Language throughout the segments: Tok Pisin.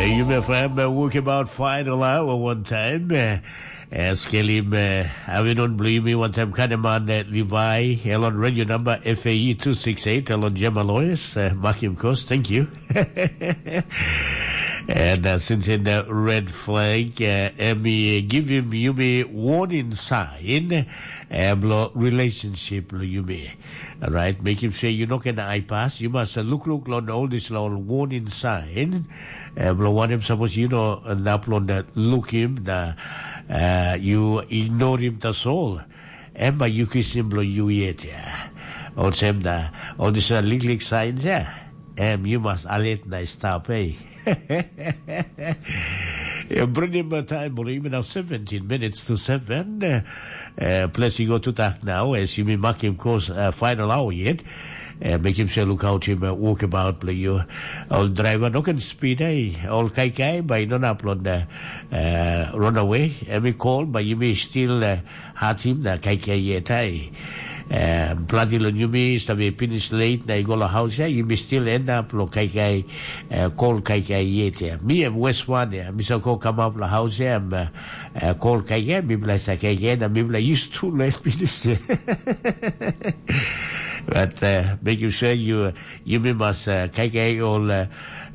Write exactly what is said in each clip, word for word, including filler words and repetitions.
Yumi F M, uh, Walkabout Final Hour one time. Uh, uh, skelim, uh, avinon blimi one time Kahneman, uh, Levi, Elon Radio number F A E two six eight, Elon Gemma Lois, uh, Makim Kos, thank you. And uh, since in the red flag, uh, Emmy, uh, give him Yumi warning sign, uh, blo relationship lo Yumi. Right, make him say you no can eye pass. You must uh, look, look, on all this long warning sign. Uh, blo one him suppose you know, uh, nap long that look him, the, uh, you ignore him, that's all. Em bai yu kisim bilong yu yet ya. Olsem na, ol dispela liklik sains ya, em yu mas alet na i stap, ei. Bringim taim bilong yumi nau seventeen minutes to seven. Uh, ples i go tutak nau, as yumi makim kos uh, final hour yet. Uh, mekim sure lukautim uh, walkabout bilong yu. Ol driver no ken speed, ei. Ol kaikai bai no nap long uh, uh, runaway. Em i call, bai yumi still uh, hatim na kaikai yet ai. Um, planti long yumi save pinis late na i go long haus ya, yumi still end up long kaikai, uh, kol kaikai yet ya. Mi em wes wan ya, mi sa go kamap long haus ya, em uh, uh, kol kaikai, mi bila sa kaikai na mi bila used to late pinis ya. But uh, make you sure you yumi mas uh, kaikai ol uh,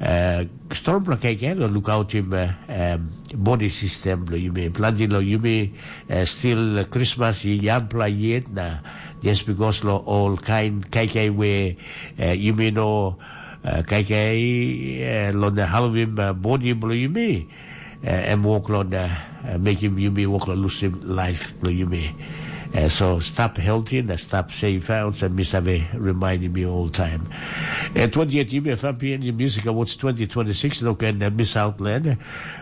uh, strong pla kaikai lo lukautim uh, um, body system lo yumi. Planti lo yumi uh, still Christmas i yampla yet na just because lo all kind kaikai we uh, yumi no uh, kaikai uh, lo na halvim uh, body blo yumi uh, em wok lo na uh, mekim yumi wok lo lusim life blo yumi. Uh, so stop healthy and stop safe out and mi save remind me all time. Uh, twenty-eight yumi F M P N G Music Awards twenty twenty-six, no can uh, miss out land.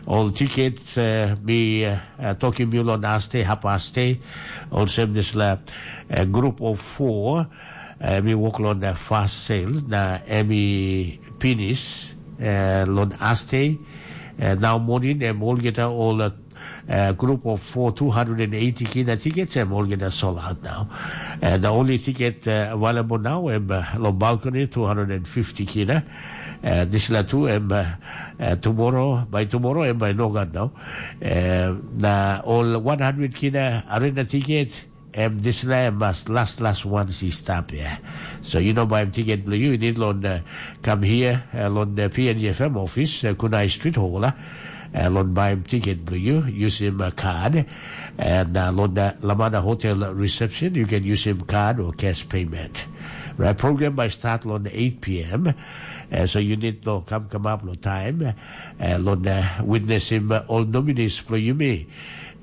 All tickets uh, mi uh, uh, talking you on aste, hap aste. Also this la uh, group of four. Uh, mi work on the fast sale na emi pinis uh, lon aste. Uh, now morning em all get all uh, uh, group of four two hundred and eighty kina tickets em all get sold out now. And the only ticket uh, available now em uh, lo balcony two hundred and fifty kina. Uh, this la two em uh, uh, tomorrow, by tomorrow em by no got now. Uh, na all one hundred kina arena ticket. Em dispela em mas las las wan si stap ya. So you know baim tiket bilong you, you need lon uh, come here uh, lon uh, P N G F M office, uh, Kunai Street Hall, uh, uh, lon baim tiket bilong you, using a card, and uh, lon uh, Lamana Hotel reception, you can use him card or cash payment. Right, program by start lon eight p.m. Uh, so you need to come come up lo time, uh, lon uh, witness him uh, all nominees bilong you me.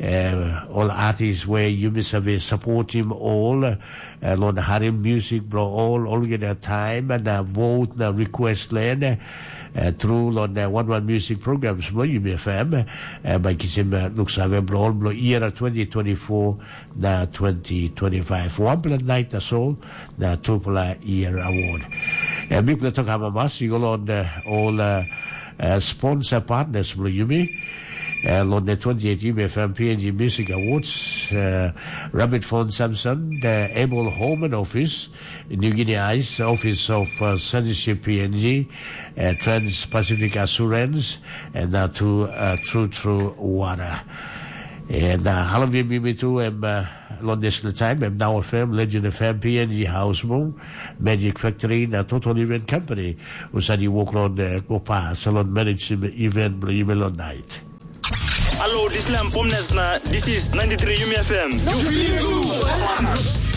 Uh, ol artist we yumi save supportim ol uh, long harim music blo ol olgeta time na uh, vote na request len uh, through long uh, one one music programs blo yumi F M uh, by kisim uh, look save blo ol blo year twenty twenty-four na twenty twenty-five. One pla night na so na two pla year award. Uh, big pla talk hamamas you go on uh, all uh, uh, sponsor partners blo yumi. Uh, lo ne twenty-eight Yumi F M P N G Music Awards, uh, Rabbit Phone Samson, the Able Home and Office, New Guinea Ice, Office of uh, Censorship P N G, uh, Trans Pacific Assurance, and uh, to uh, True True Water. And uh, all of you, me too, and uh, London Time, and Now F M, Legend F M, P N G House Moon, Magic Factory, and uh, Total Event Company, who said you walk on uh, Gopa, Salon Management Event, Blue Night. Hello, this is Lam Pomnes na this is ninety-three Yumi F M.